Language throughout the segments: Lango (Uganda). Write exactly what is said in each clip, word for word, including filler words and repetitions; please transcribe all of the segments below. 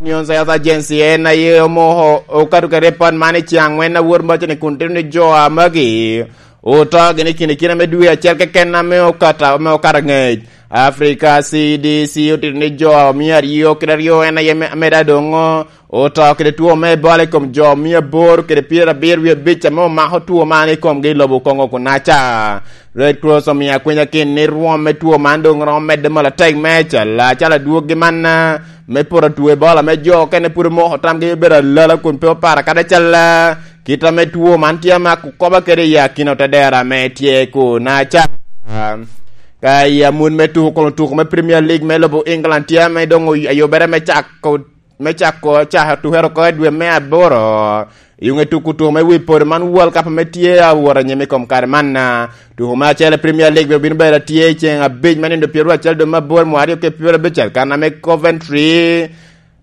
News Health Agency en aye omoko okato kede report man i ceng angwen awor maca ni kun tito ni jo a magi oto gini kine kine me dwe acel keken ame okato ame okato angec. Africa C D C otito ni jo mia aryo kede aryo en aye me- ameda doŋo oto kede two me Ebola i kom jo mia aboro kede pyerabiro wie abic ame omako two man i komgi i lobo Kongo kunaca. Red Cross omio akwinya kin ni rwom me two man doŋ romo medde mol atek me cala cala dwoggi man me poro two Ebola me jo okene pud omoko tamgi obedo alala kun pe opara kadi acalla kit ame two man tye amako koba kede i akina otedera ame tye kunaca. Ka i amut me tuko kono tuko me Premier League me lobo England tye ame doŋ oy- ayubere me cako me cako cako tukere oko i dwe me aboro. Yuŋe tuko tuko me wi poro man World Cup ame tye awot anyim i kom kare man. Tuko me acel i Premier League bino bedo atye i ceng abic me nindo pyeraryo acel dwe me aboro mwa aryo kede pyeraryo abicel kan ame Coventry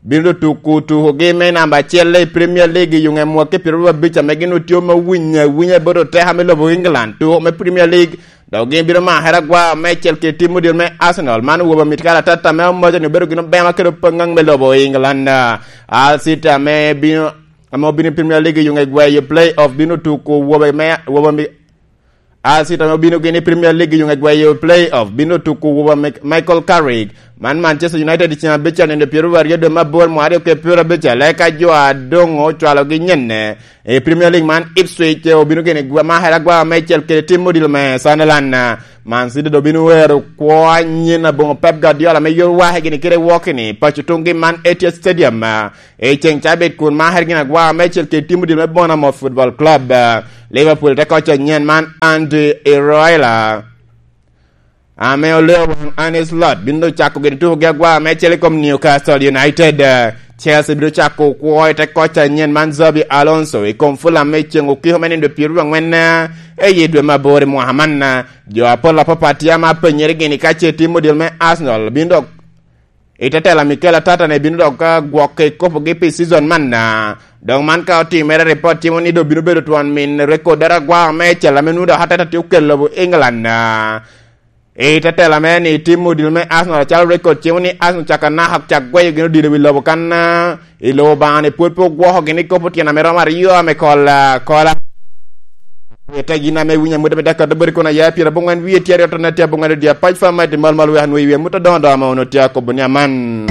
bino tuko tukogi me namba acel i Premier League i yuŋe mwaki pyeraryo abic ame gin otye me winyo awinya bot oteka me lobo England tuko me Premier League dok gin bino makere agwa meicel kede tim odilo me Arsenal man owobo mit kare atata ame omoco ni obedo gin obema kede opaŋaŋ me lobo England. Al City ame bino ame obino i Premier League i yuŋe gweyo play off bino tuko wobe me wobe mi Al City ame obino gini i Premier League i yuŋe gweyo play off bino tuko wobe me Michael Carrick man Manchester United i ceng abic anende pyeraryo aryo dwe me aboro mwa aryo kede pyeraryo abicel eka jo adoŋ ocwalogi nyenne i Premier League man Ipswich obino gini gwa- makere agwa meicel kede tim odilo me Sunderland. Man City dok bino wero kwo anyen aboŋo Pep Guardiola me yot wake gini kede wokini paco tuŋgi man Etihad Stadium i ceng cabit kun makere gini agwa meicel kede tim odilo me Bournemouth Football Club. Liverpool te koc anyen man Andy Iraola ame oleo waŋ Arne Slot bino cako gin tukogi agwa me acel i kom Newcastle United. Chelsea bino cako kwo i te koc anyen man Xabi Alonso i kom Fulham me ceng okiko me nindo pyeraryo angwen i dwe me aboro i mwaka man. Jo apol apapat tye ame apenyere gini ka ce tim odil me Arsenal bino dok i te tela Mikel Arteta ne bino dok ka gwok i kopogi pi season man. Dok man ka otimere, ripot timo ni dok bino bedo twon min rekod dero agwa me cel ame nwoŋo dok Arteta tye okelo lobo England. I te tela mere ni tim odilo me Arsenal acalo rekod cimo ni Arsenal caka naka cak gweyo gin odilo i wi lobo kan i lobo Obaŋa ni pwod pe ogwoko gin i kop otyeno ame romo aryo ame kol kola. Ite gin ame winyo amute me dakar dobori kono aya pyera bongwen wiye tye aryo tona tye abongwen odiya pac fa ma iti mal mal wek anwe iwi amute doŋo doŋo ame ono tye akobo ni aman.